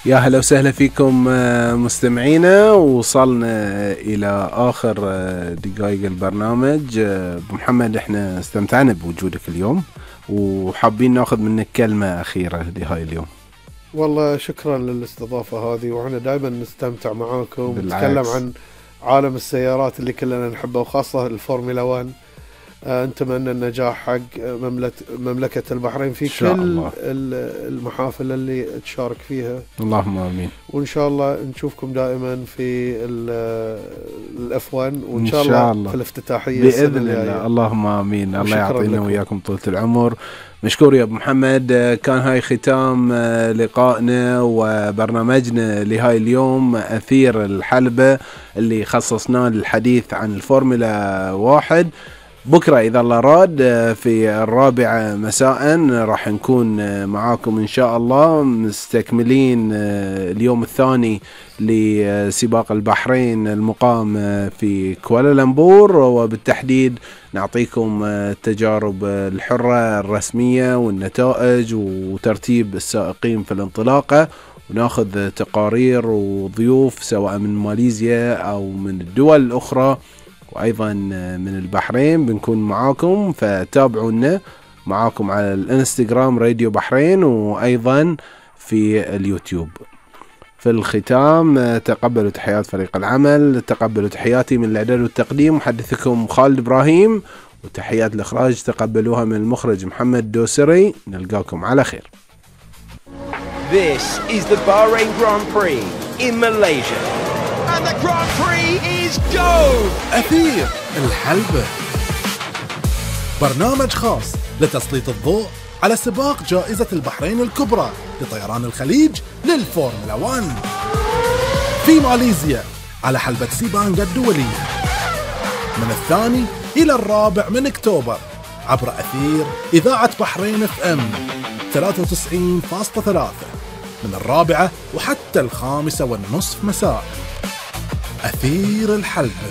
يا هلا وسهلا فيكم مستمعينا. وصلنا إلى آخر دقائق البرنامج. محمد، احنا استمتعنا بوجودك اليوم وحابين ناخذ منك كلمة أخيرة لهاي اليوم. والله شكرا للاستضافة هذه، وإحنا دائما نستمتع معاكم ونتكلم عن عالم السيارات اللي كلنا نحبه، وخاصة الفورمولا 1. نتمنى النجاح حق مملكة البحرين في كل المحافل اللي تشارك فيها. اللهم آمين. وإن شاء الله نشوفكم دائما في الأف1، وإن شاء الله في الافتتاحية بإذن الله. اللهم آمين. الله يعطينا وياكم طولة العمر. مشكور يا أبو محمد. كان هاي ختام لقائنا وبرنامجنا لهاي اليوم، أثير الحلبة، اللي خصصناه للحديث عن الفورمولا 1. بكرة إذا الله راد في 4 مساء راح نكون معاكم إن شاء الله، مستكملين اليوم الثاني لسباق البحرين المقام في كوالالمبور، وبالتحديد نعطيكم التجارب الحرة الرسمية والنتائج وترتيب السائقين في الانطلاقة، وناخذ تقارير وضيوف سواء من ماليزيا أو من الدول الأخرى، وأيضا من البحرين بنكون معاكم. فتابعونا معاكم على الانستغرام راديو بحرين، وأيضا في اليوتيوب. في الختام تقبلوا تحيات فريق العمل، تقبلوا تحياتي من الإعداد والتقديم محدثكم خالد إبراهيم، وتحيات الإخراج تقبلوها من المخرج محمد دوسري. نلقاكم على خير. This is the Bahrain Grand Prix in Malaysia. And the Grand Prix is go! أثير الحلبة، برنامج خاص لتسليط الضوء على سباق جائزة البحرين الكبرى لطيران الخليج للفورمولا 1 في ماليزيا على حلبة سيبانغا الدولية من 2 إلى 4 من أكتوبر عبر أثير إذاعة بحرين FM 93.3 من 4 وحتى 5:30 مساء. أثير الحلبة.